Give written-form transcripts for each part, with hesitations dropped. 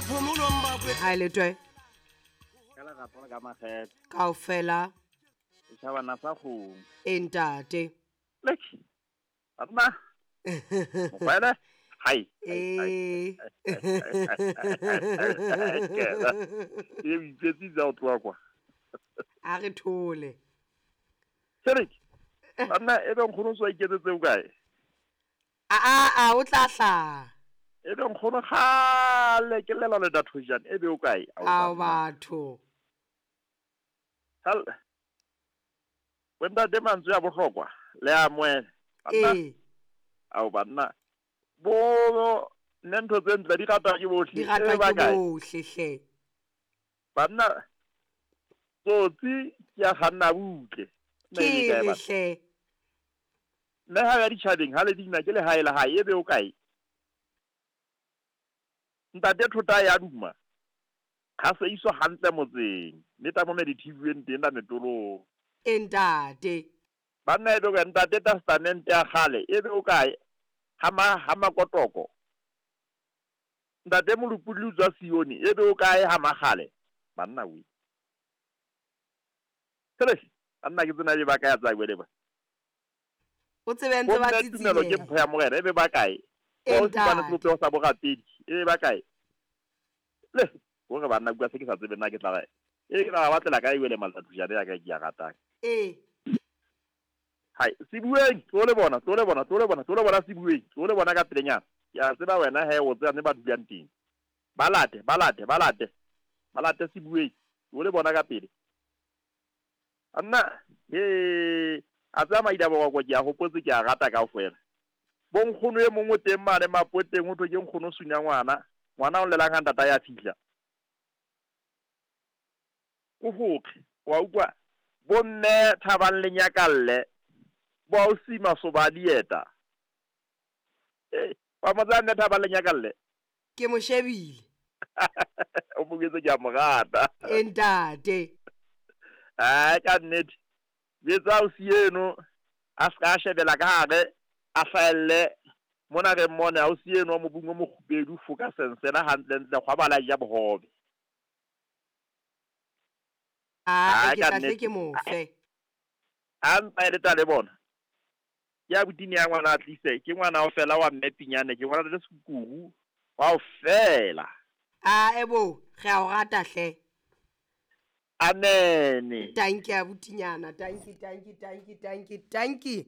Ha le twe. Ka lerato le ka makgethe. Kaofela. Setjhabana sa kgomo. E ntate. Lek. Banna. Mokwele. Hai. Ee. E o ipetsitse o tloha kwa. A re thole. Serek. Banna e be nkgono so iketsetse o kae? A o tla hlaha. E be nkgono kgale ke llela le dathojane e be o kae? Ao batho. Hal. Bo ntate mantswe a bohlokwa le a moele. Ee. Ao banna. Bo nne ntho tse ntle di ratwa ke bohle. Di ratwa ke bohle hle. Banna tsotsi ke ya kganna butle. Ke re hle. Mme ha ya ditjhabeng ha le dina ke lehae la hae e be o kae? Ntate thota ya duma. Ha se iso hantle motseng. Mme ta mo medithibueng teng la metolong. E ntate. Banna e be o ntate testamente ya kgale e be o kae? Ha makotoko. Ntate Molopolli o tswa Sione e be o kae ha makgale? Banna we. Tsele, banna ke tsena e ba kae tsa wele ba. O tsebe ntse ba tsitsile. Tumelo ke mpho ya Morena e be ba kae? O tsebane sebopeho sa borapedi e be ba kae? Le, hore banna bua se ke sa tsebe nna ke tla re. E ke tla ba batlela kae wele malatujane ya ka ke ya ratang. E. Hai, se bueng, tlo le bona, tlo le bona, tlo le bona, tlo le bona se bueng, tlo le bona ka pelenyana. Ke a tseba wena he o tseba ne ba dulang teng. Ba late, ba late, ba late. Ba late se bueng, tlo le bona ka pele. Anna, he, a tsaya maida boroko ke a hopotse ke a rata kaofela. Bo nkgono e mongwe teng mane mapoteng ho thwe ke nkgono sunya ngwana. Ngwana o llelang ha ntata ya fihla. Ko hokge, wa utlwa bo mme Thabang le Nyakalle. Bo ausi Masoba a dieta. Eh, wa mo tsaya mme Thabang le Nyakalle? Ke mo shebile. O mo jwetse ke a mo rata. E ntate. Ai ka nnete. Jwetsa ausi eno a ska shebela ka hare a hlahelle mona re mmone ausi eno wa mobung o mokgubedu foka sensela hantle ntle kgwabala ja bohobe. A ke tla hle ke mo fe. A mpa le tla le bona. Ke a botini ya ngwana a tlise ke ngwana o fela wa mme Pinyane ke ngwana le sekuru wa o fela. A ebo re a o rata hle. Amen. Tanki abutinyana, tanki tanki tanki tanki tanki.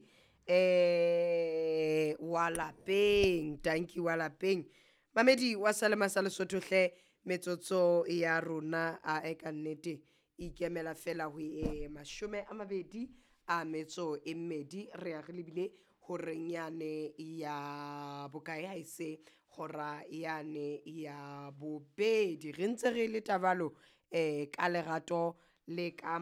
Wa lapeng, tanki wa lapeng. Mamedi wa Salema sa Lesotho hle metsotso ya rona a e ka nnete ikemela fela ho e 22 re ya re lebile horeng yane ya bokae ha ise hora yane ya bobedi re ntse re le tabalo ka lerato le ka